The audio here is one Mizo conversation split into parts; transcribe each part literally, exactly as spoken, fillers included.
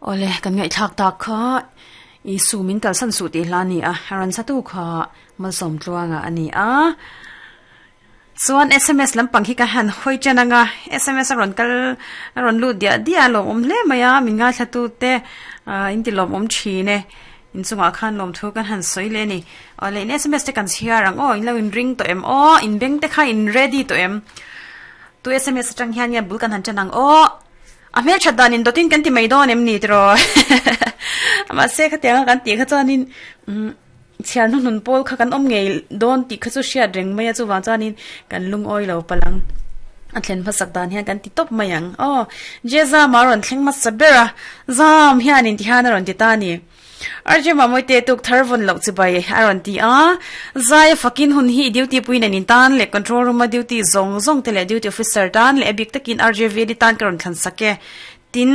Ole kan ngai thak tak kha i su min kal san su ti hla ni a ran satu kha malsom tluanga ani a chuan S M S lampang hi ka han hoi chananga S M S a ron kal a ron lut dia dia lo om hle maya min nga thlatu te in ti lom om thine in chunga khan lom thu kan han soi le ni. Ole, in S M S te kan chiarang o, in lo in ring to em o, in beng te kha in ready to em tu? S M S atang hian ya bul kan han chanang o, a hmel that dan in dotin kan ti mai don em ni tro ma se kha tianga kan ti kha chuanin um chiar nu nun pol kha kan om ngei don ti kha chu hriat reng mai a. Chu wang chuanin kan lung oi lo palang a thlen hmasak dan hian kan ti top mai ang o. Jeza maron thleng ma sabera zam hian in ti han aron ti ta ni. R J mamoi te, tuk thar von lo chi bai aron ti a. Zai fakin hun hi duty puin an in tan le control room a duty zong zong te le duty officer tan le ebik takin R J V di tan karon thlan sake tin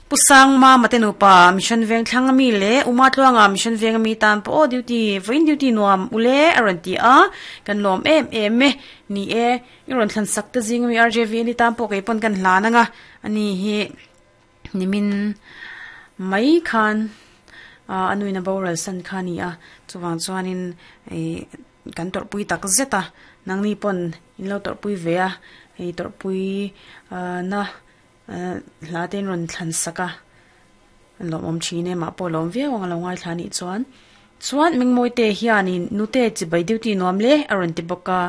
pusang ma matenu pa mission veng thlang ami le uma tluanga mission veng ami tan po duty voin duty nuam ule aron ti a. Kan lom em em me ni e iron thlan sak te jing mi R J V ni tan po ke pon kan hla na nga ani hi nimin mai khan anuina boral san khani a. Chuwang chuanin e kan tor pui tak zeta nangni pon in lo tor pui ve a hei tor pui na hla ten ron thlan saka lom om thine ma po lom viau ang lo ngai thlani. Chuan chuan mingmoi te hianin nute chibai, duty nuam le aron ti boka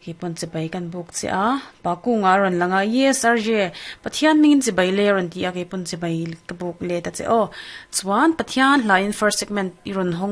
hi pon chibai kan buk che a. Pakunga ron langa, "Yes R J, Pathian mingin chibai le," ron ti a. Ke pon chibai ka buk le ta che o. Chuan Pathian hlain first segment iron hong.